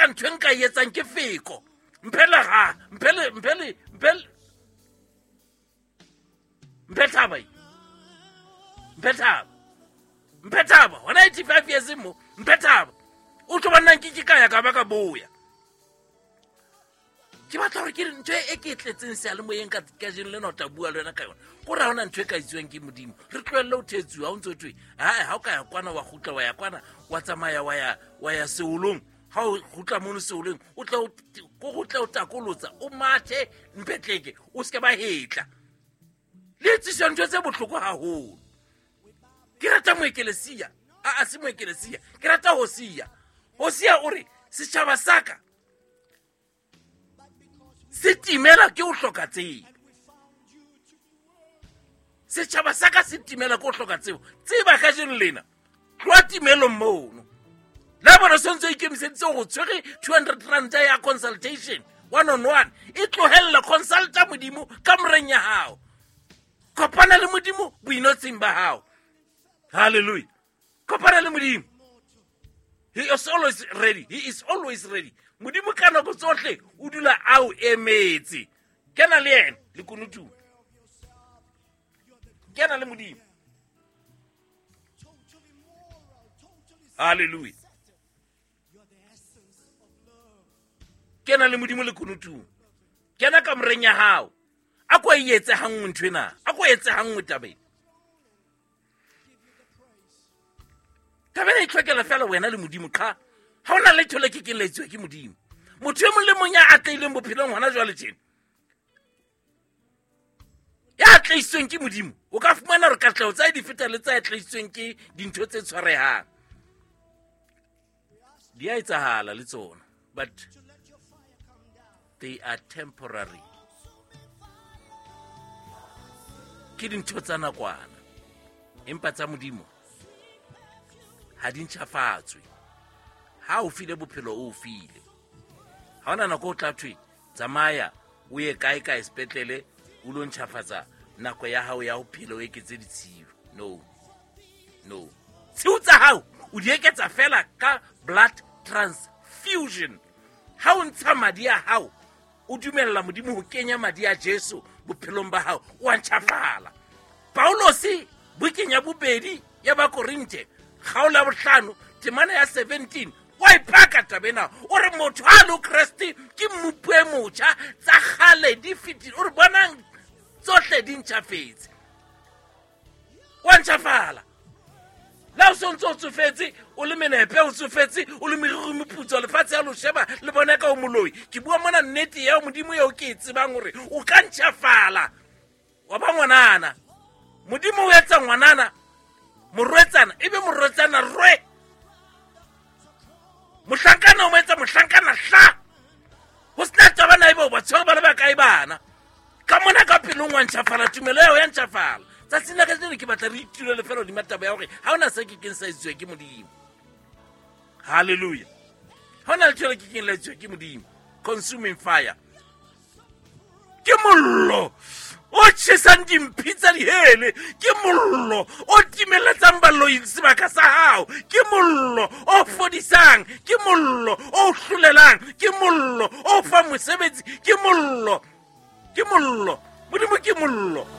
Feela ntho e nka e etsang ke feko. Mphe leraha, mphe le, mphe le, mphe le, mphe thaba e. Mphe thaba. Mphe thaba. Hona 85 years mo, mphe thaba. O tlo bona nke ke ka ya ka ba ka boya. Ke batla hore ke re ntho e ke e tletseng seyalemoyeng ka kajeno lena o tla bua le wena ka yona. Ko re ha hona ntho e ka etsuwang ke Modimo. Re tlohelle ho thetsuwa, ha o ntso thwe, hae, ha o ka ya kwana wa kgutla wa ya kwana, wa tsamaya wa ya, wa ya seolong. Ha o kgutla mono seolong, o tle o, ko go tle o takolotsa, o mathe mpetleke, o seke ba hetla. Le etsiswa ntho tse bohloko haholo. Ke rata moekelesia, a, a se moekelesia, ke rata Hosea. Hosea o re, setjhaba sa ka se timela ke ho hloka tsebo. Setjhaba sa ka se timela ke ho hloka tsebo. Tseba kajeno lena, tloha timelong mono. La bona se ntse o ikemiseditse hore o tshwere 200 rand ya consultation one on one, e tlohella consulta Modimo ka moreng ya hao. Kopana le Modimo boinotsing ba hao. Hallelujah. Kopana le Modimo. He is always ready. He is always ready. Modimo ka nako tsohle o dula a o emetse. Kena le yena le kunutung. Kena le Modimo. Hallelujah. Kena le Modimo le kunutung. Kena kamoreng ya hao. A ko e etse hanngwe ntho ena. A ko etse hanngwe taba ena. Taba ena e tlhokela fela wena le Modimo qha. Ha hona letho le ke keng la etsuwa ke Modimo. Motho e mong le mong ya atlehileng bophelong hona jwale tjena, ya atlehisitsweng ke Modimo, o ka fumana hore katleho tsa di feta le tsa atlehisitsweng ke dintho tse tshwarehang. Di a etsahala le tsona, but they are temporary. Ke dintho tsa nakwana, empa tsa Modimo ha di ntjhafatswe. Ha o file bophelo, o file. Ha hona nako o tla thwe tsamaya o ye kae kae sepetlele o lo ntjhafatsa nako ya hao ya ho phela, o eketse ditshiu. No, no. Tshiu tsa hao o di eketsa fela ka blood transfusion. Ha o ntsha madi a hao, o dumella Modimo ho kenya madi a Jesu bophelong ba hao, o a ntjhafala. Paulose bukeng ya bobedi ya Bakorinthe kgaolo ya bohlano temana ya 17 wa ipaka taba ena. O re motho ha le Kreste ke mmupi e motjha, tsa kgale di fetile. O re bonang tsohle di ntjhafetse. Wa ntjhafala. Le ha o so ntse o tsofetse, o le menepe, o tsofetse, o le meriri moputso, lefatshe ya lo sheba le bona ka o moloi. Ke bua mona nnete ya Modimo eo ke e tsebang hore o ka ntjhafala wa ba ngwanana. Modimo o etsa ngwanana morwetsana, ebe morwetsana rwe. Mohlankana o mo etsa mohlankana hla. Ho sena taba na ebe o ba tshwere ba le bakae bana. Ka mona ka pelong wa ntjhafala, tumelo ya hao ya ntjhafala. Tsatsing la kajeno ke batla re itulele fela hodima taba ya hore ha hona se ke keng sa etsuwa ke Modimo. Hallelujah. Ha hona letho le ke keng la etsuwa ke Modimo. Consuming fire. Ke mollo o tjhesang dimphi tsa dihele, ke mollo o timeletsang baloi sebaka sa hao, ke mollo o fodisang, ke mollo o hlolelang, ke mollo o fang mosebetsi, ke mollo, ke mollo. Modimo ke mollo.